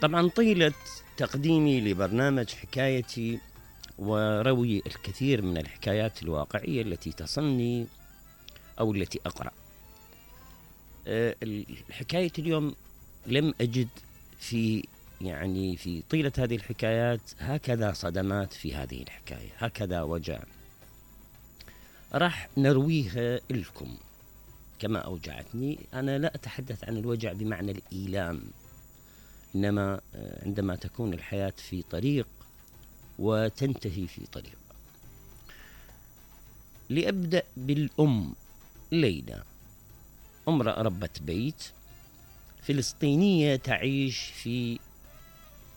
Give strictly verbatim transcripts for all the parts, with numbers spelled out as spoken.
طبعا طيلة تقديمي لبرنامج حكايتي وروي الكثير من الحكايات الواقعية التي تصلني أو التي أقرأ. أه الحكاية اليوم لم أجد في يعني في طيلة هذه الحكايات هكذا صدمات في هذه الحكاية، هكذا وجع راح نرويها لكم كما أوجعتني. أنا لا أتحدث عن الوجع بمعنى الإيلام، إنما عندما تكون الحياة في طريق وتنتهي في طريق. لأبدأ بالأم ليلى، امرأة ربة بيت فلسطينية تعيش في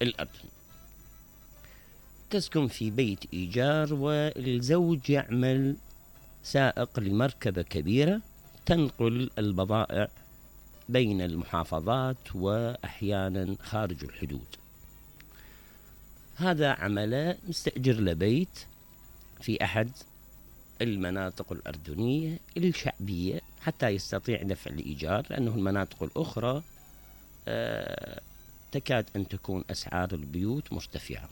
الأردن، تسكن في بيت إيجار والزوج يعمل سائق لمركبة كبيرة تنقل البضائع بين المحافظات وأحيانا خارج الحدود. هذا عمله مستأجر لبيت في أحد المناطق الأردنية الشعبية حتى يستطيع دفع الإيجار، لأنه المناطق الأخرى آه تكاد أن تكون أسعار البيوت مرتفعة.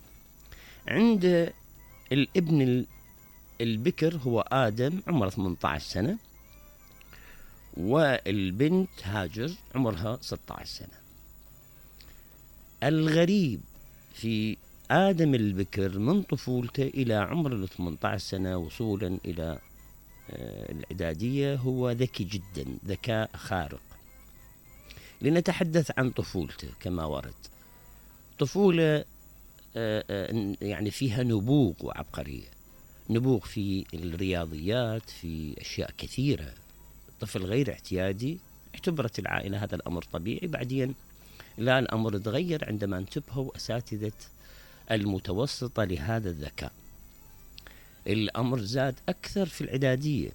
عند الابن البكر هو آدم عمره ثمانية عشر سنة، والبنت هاجر عمرها ستة عشر سنة. الغريب في آدم البكر من طفولته إلى عمر ال ثمانية عشر سنة وصولا إلى الإعدادية هو ذكي جدا، ذكاء خارق. لنتحدث عن طفولته كما ورد. طفولة يعني فيها نبوغ وعبقرية، نبوغ في الرياضيات، في أشياء كثيرة. طفل غير اعتيادي، اعتبرت العائلة هذا الأمر طبيعي. بعدين لا، الأمر تغير عندما انتبهوا أساتذة المتوسطة لهذا الذكاء. الأمر زاد أكثر في الإعدادية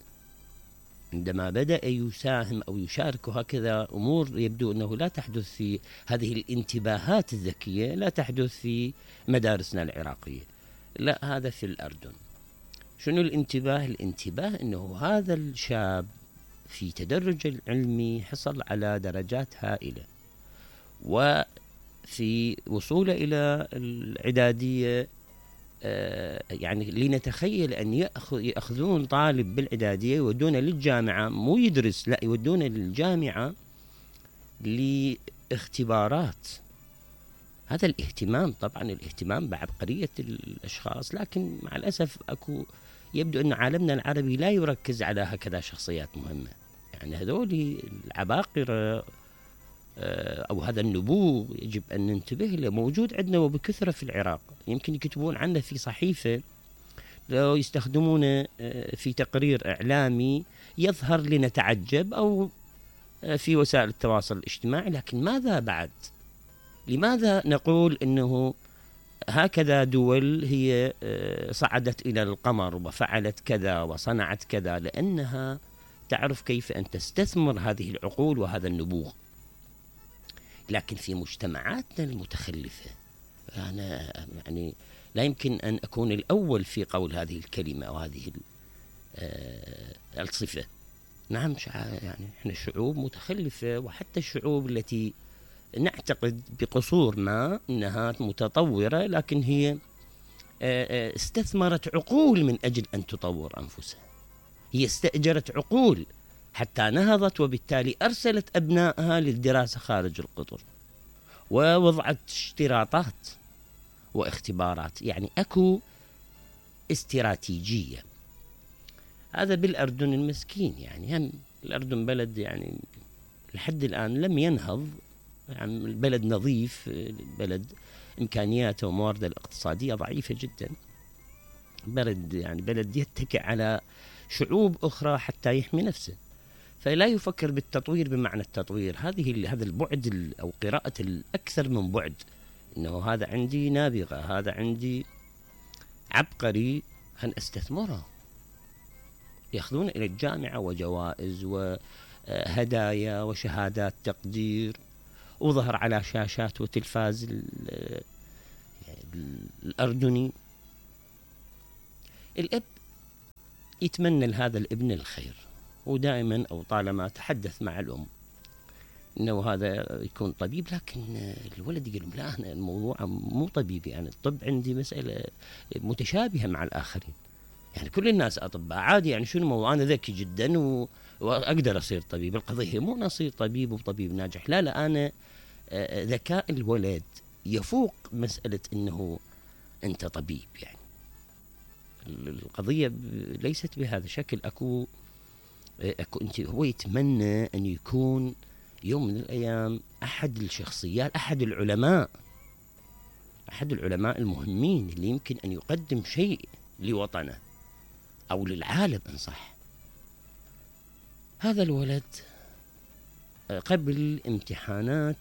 عندما بدأ يساهم أو يشارك هكذا أمور يبدو أنه لا تحدث في هذه الانتباهات الذكية، لا تحدث في مدارسنا العراقية، لا هذا في الأردن. شنو الانتباه؟ الانتباه أنه هذا الشاب في تدرج العلمي حصل على درجات هائلة، وفي وصوله إلى الإعدادية آه يعني لنتخيل أن يأخذون طالب بالإعدادية يودونه للجامعة، مو يدرس، لا يودونه للجامعة لاختبارات. هذا الاهتمام، طبعا الاهتمام بعبقرية الأشخاص، لكن مع الأسف أكو يبدو أن عالمنا العربي لا يركز على هكذا شخصيات مهمة. يعني هذول العباقرة أو هذا النبوغ يجب أن ننتبه له، موجود عندنا وبكثرة في العراق. يمكن يكتبون عنه في صحيفة، لو يستخدمونه في تقرير إعلامي يظهر لنتعجب، أو في وسائل التواصل الاجتماعي. لكن ماذا بعد؟ لماذا نقول أنه هكذا دول هي صعدت إلى القمر وفعلت كذا وصنعت كذا؟ لأنها تعرف كيف أن تستثمر هذه العقول وهذا النبوغ. لكن في مجتمعاتنا المتخلفة، أنا يعني لا يمكن أن أكون الأول في قول هذه الكلمة أو هذه الصفة. نعم، يعني إحنا شعوب متخلفة، وحتى الشعوب التي نعتقد بقصور ما أنها متطورة، لكن هي استثمرت عقول من أجل أن تطور أنفسها. هي استأجرت عقول حتى نهضت، وبالتالي أرسلت أبنائها للدراسة خارج القطر، ووضعت اشتراطات واختبارات. يعني أكو استراتيجية. هذا بالأردن المسكين. يعني هم الأردن بلد يعني لحد الآن لم ينهض، يعني البلد نظيف، البلد إمكانياته وموارده الاقتصادية ضعيفة جدا. بلد يعني بلد يتكئ على شعوب أخرى حتى يحمي نفسه، فلا يفكر بالتطوير بمعنى التطوير. هذه هذا البعد أو قراءة الأكثر من بعد، إنه هذا عندي نابغة، هذا عندي عبقري، خلنا استثمره. يأخذون إلى الجامعة وجوائز وهدايا وشهادات تقدير، وظهر على شاشات وتلفاز الأردني. الأب يتمنى لهذا الابن الخير، ودائما أو طالما تحدث مع الأم انه هذا يكون طبيب، لكن الولد يقول لا انا الموضوع مو طبيبي، يعني الطب عندي مساله متشابهه مع الاخرين، يعني كل الناس اطباء عادي، يعني شنو الموضوع، انا ذكي جدا و... واقدر اصير طبيب. القضيه مو أنا اصير طبيب وطبيب ناجح، لا لا، انا ذكاء الولد يفوق مساله انه انت طبيب. يعني القضيه ليست بهذا الشكل. اكو اكو انت هو يتمنى ان يكون يوم من الايام احد الشخصيات، احد العلماء، احد العلماء المهمين اللي يمكن ان يقدم شيء لوطنه او للعالم ان صح. هذا الولد قبل امتحانات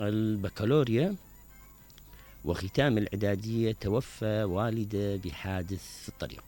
البكالوريا وختام الاعداديه توفى والده بحادث في الطريق.